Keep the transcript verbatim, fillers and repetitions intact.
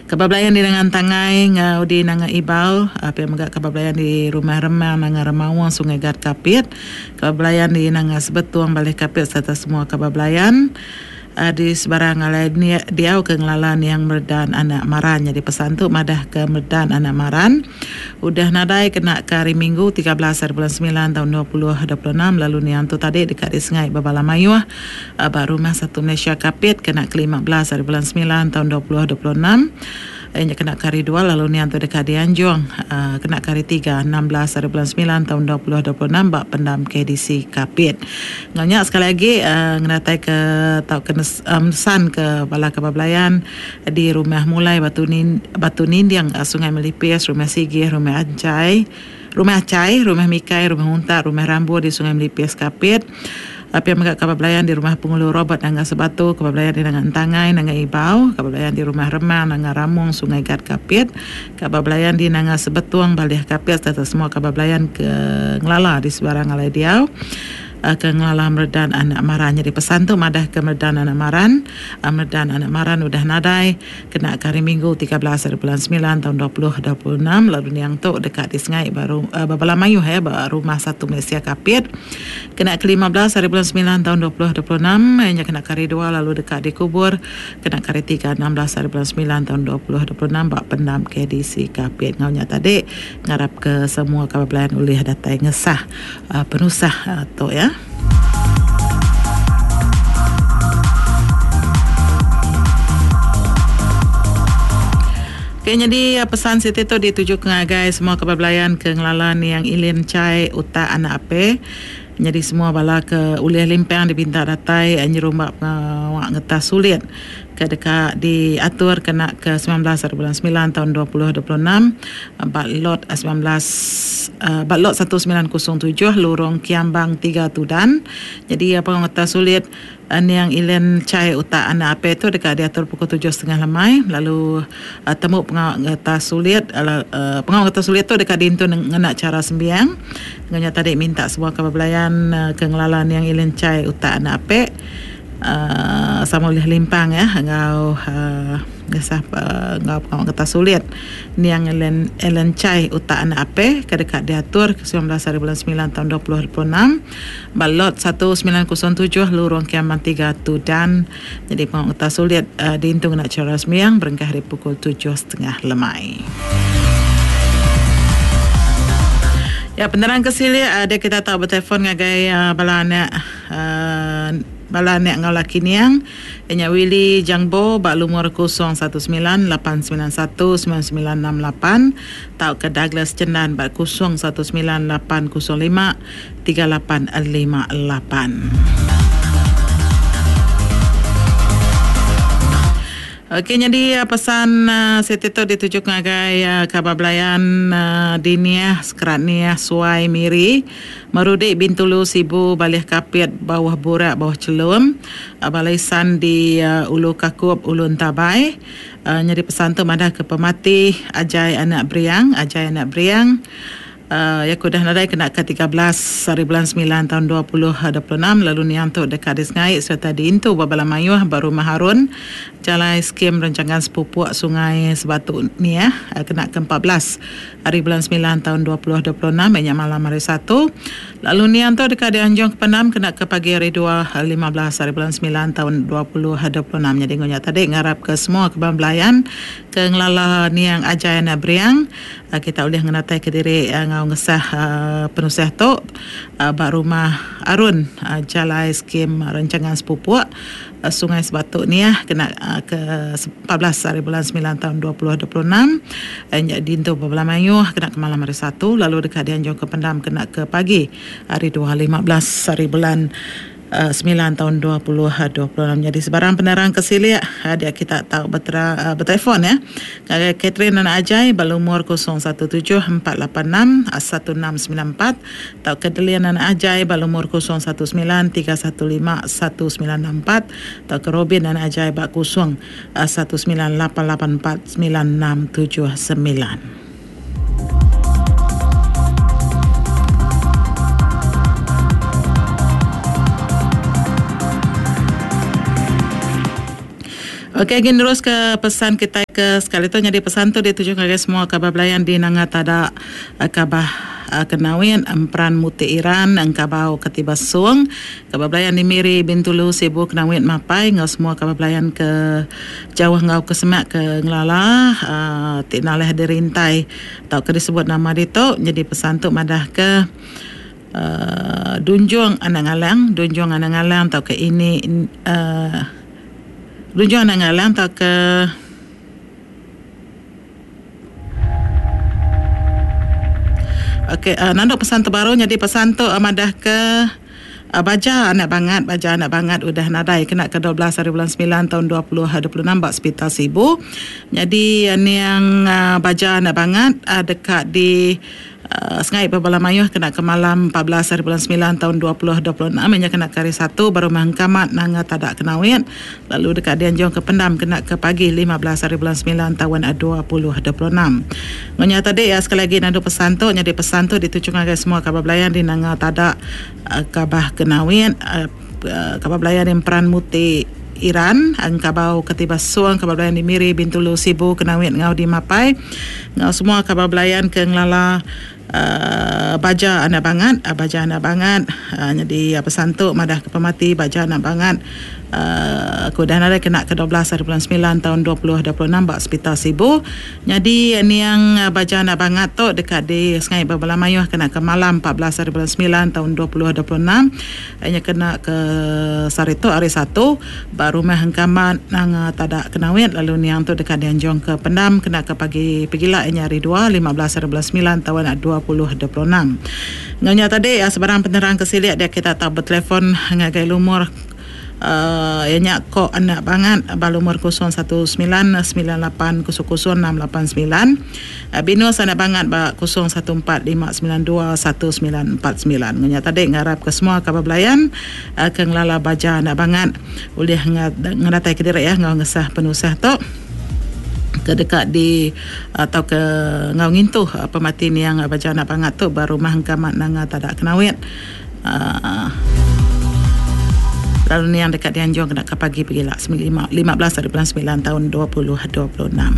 Kaban belayan di Nanga Entangai ngau di Nanga Ibau, pia mega kaban belayan di Rumah Remang Nanga Remaung Sungai Gat Kapit, kaban belayan di Nanga Sebetung Baleh Kapit sereta semua kaban belayan di sebarang alai diau ke ngelala niang Meredan Anak Maran. Nyadi pesan tu madah ke Meredan Anak Maran udah nadai kena ke hari Minggu tiga belas hari bulan semilan taun dua puluh dua puluh enam lalu niang tu tadi deka disengai bebala mayuh ba Rumah Satu Malaysia Kapit kena ke lima belas hari bulan semilan taun dua puluh dua puluh enam. Nya kena ke hari dua lalu niang tu deka dianjung kena ke hari tiga enam belas hari bulan semilan taun dua puluh dua puluh enam ba pendam K D C Kapit. Enggau nya sekali agi ngenatai ke tauka mesan ke bala kaban belayan di Rumah Mulai Batu Nin, Batu Ninding Sungai Melipis, Rumah Sigih, Rumah Anchai, Rumah Achai, Rumah Mikai, Rumah Untak, Rumah Rambu di Sungai Melipis Kapit. Pia mega kaban belayan di Rumah Pengulu Robert Nanga Sebatu, kaban belayan di Nanga Entangai, Nanga Ibau, kaban belayan di Rumah Remang, Nanga Ramung, Sungai Gat Kapit, kaban belayan di Nanga Sebetung, Balih Kapit serta semua kaban belayan ke ngelala di sebarang alai diau ke ngelala Meredan Anak Maran. Jadi pesan tu madah ke Meredan Anak Maran, Meredan Anak Maran udah nadai kena ke hari Minggu tiga belas hari bulan semilan tahun dua puluh dua puluh enam lalu niang tu dekat di Sengai baru bebala mayuh ya ba Rumah Satu Malaysia Kapit kena ke lima belas hari bulan semilan tahun dua puluh dua puluh enam nya kena ke hari dua lalu dekat dikubur kena ke hari tiga enam belas hari bulan semilan tahun dua puluh dua puluh enam ba pendam K D C Kapit. Ngau nya tadi ngarap ke semua kaban belayan ulih datai ngesah uh, penusah uh, tu ya. Okay, jadi pesan siti tu dituju ke ngagai semua kaban belayan ke ngelala niang Ilin Chai Utak Anak Ape. Jadi semua bala ke ulih limpang dipinta datai nyerumbak pengawak ngetas sulit ke dekat diatur kena ke sembilan belas hari bulan sembilan tahun dua puluh dua puluh enam bak lot sembilan belas uh, bak lot seribu sembilan ratus tujuh Lorong Kiambang tiga Tudan. Jadi apa ngetas sulit niang Ilen Chai Utak Anak Ape tu dekat diatur pukul tujuh setengah lemai lalu uh, temu pengawak ngetas sulit uh, pengawak ngetas sulit tu dekat diintun ngena cara sembiang. Ngenya tadi minta semua kaban belayan uh, ke ngelala niang Ilen Chai Utak Anak Ape Uh, sama oleh limpang ya ngau uh, ngesah uh, ngau pengawak ngetas sulit niang Ellen Ellen Chai Utak Anak Ape ke dekat diatur ke sembilan belas hari bulan sembilan tahun dua puluh dua puluh enam balot seribu sembilan ratus tujuh Lorong Kiambang tiga Tudan. Jadi pengawak ngetas sulit uh, diintung nak cara sembiang berengkah hari pukul tujuh setengah lemai. Ya, penerang ke sini ada kita tahu bertelefon ngagai uh, bala anak uh, bala anak ngau laki niang nya Willy Jangbo bak lumur kosong satu sembilan lapan sembilan satu sembilan sembilan enam lapan tau ke Douglas Cendan bak kosong satu sembilan lapan kosong lima tiga lapan lima lapan. Okey, jadi pesan uh, siti tu dituju ngagai uh, kabar belayan uh, Diniah, Sekerat Niah, Suai, Miri, Merudik, Bintulu, Sibu, Balih Kapit, Bawah Burak, Bawah Celum, uh, Balaisan di uh, Ulu Kakup, Ulu Entabai. Uh, jadi pesan tu madah ke pemati Ajai Anak Briang, Ajai Anak Briang. Uh, ya kudah nadai kena ke tiga belas hari bulan sembilan tahun dua puluh dua puluh enam lalu niang tu dekat di Sengai serta diintu babala mayuh baru Maharun Jalai Skim Rancangan Sepupuk Sungai Sebatu ni ya kena ke empat belas hari bulan sembilan tahun dua puluh dua puluh enam banyak malam hari satu lalu niang tu dekat di Anjung Kepenam kena ke pagi hari dua lima belas hari bulan sembilan tahun dua puluh dua puluh enam. Jadi ngonya tadi ngarap ke semua kebang belayan ke ngelala niang Ajai Anak Briang kita boleh ngenatai ke diri ngau ngesah uh, penusah tu uh, bak rumah Arun uh, Jalai Skim Rancangan Sepupuk uh, Sungai Sebatuk ni ya kena uh, ke empat belas hari bulan sembilan tahun dua puluh dua puluh enam uh, dintu beberapa mayuh kena ke malam hari satu lalu dekat dianjung ke pendam kena ke pagi hari dua lima belas hari bulan Uh, sembilan tahun dua puluh dua puluh enam. Jadi sebarang penerang kesilik uh, dia kita tahu bertera, uh, bertelefon ya. Ngagai Catherine Anak Ajai balumur kosong satu tujuh empat lapan enam satu enam sembilan empat atau Kedelian Anak Ajai balumur kosong satu sembilan tiga satu lima satu sembilan enam empat atau ke Robin Anak Ajai bak kosong satu sembilan lapan lapan empat sembilan enam tujuh sembilan. Okey, gin terus ke pesan kita ke sekali tu. Jadi pesan tu dituju ngagai semua kaban belayan di Nanga Tada, Kabah Kenawit, Emperan Muti Iran, Engkabau Ketiba Sung, kaban belayan di Miri, Bintulu, Sibu, Kenawit, Mapai, enggau semua kaban belayan ke jauh enggau ke semak ke ngelala uh, ti nalih dirintai tau ke disebut nama ditu. Jadi pesan tu madah ke uh, Dunjung Anak Ngalang, Dunjung Anak Ngalang tau ke ini uh, Dunjung Anak Ngalang tau ke Okey, uh, nanduk pesan terbaru. Jadi pesan tu uh, madah ke uh, baja anak bangat, baja anak bangat udah nadai kena ke dua belas hari bulan sembilan tahun dua ribu dua puluh enam bak Hospital Sibu. Jadi uh, niang uh, baja anak bangat uh, dekat di Uh, sengai berbala mayuh kena ke malam empat belas hari bulan sembilan tahun dua ribu dua puluh enam, nya kena ke hari satu baru mangkamat nanga tadak kenawit, lalu dekat dianjung ke pendam kena ke pagi lima belas hari bulan sembilan tahun dua ribu dua puluh enam. Ngonya tadi ya, sekali lagi nandu pesan tu, jadi pesan tu dituju ngagai semua kabar belayan di nanga tadak uh, kabah kenawit, uh, uh, kabar belayan di Emperan Muti Iran, Engkabau Ketiba Suang, kabar belayan di Miri, Bintulu, Sibu, Kenawit, ngau di Mapai, ngau semua kabar belayan ke ngelala Uh, baja anak bangat, uh, baja anak bangat, uh, jadi uh, pesan tu madah ke pemati baja anak bangat uh, aku dah ada kena ke dua belas hari bulan sembilan tahun dua ribu dua puluh enam bak Hospital Sibu. Jadi niang uh, baja anak bangat tu dekat di Sungai Berbala Mayuh kena ke malam empat belas hari bulan sembilan tahun dua ribu dua puluh enam, hanya kena ke sehari tu hari satu ba rumah hengkamat nang tadak kenawit, lalu niang tu dekat dianjung ke pendam kena ke pagi pegila nya hari dua lima belas hari bulan sembilan tahun dua ribu dua puluh enam. Nganya tadi ya, sebarang penerang kesiliak dia kita tak bertelefon ngagai lumur uh, ianya kok anak bangat balumur kosong satu sembilan sembilan lapan kosong kosong enam lapan sembilan, Binus anak bangat ba kosong satu empat lima sembilan dua satu sembilan empat sembilan. Nganya tadi ngarap ke semua kabar belayan uh, ke ngelala baja anak bangat boleh ngadatai ke diri ya ngau ngesah penusah tu ke dekat di atau ke ngau ngintuh pemati niang baja anak bangat tu baru rumah hengkamat nanga tadak kenawit. Uh, lalu niang dekat dianjung kena ke pagi pergi lah lima belas hari bulan sembilan tahun dua ribu dua puluh enam.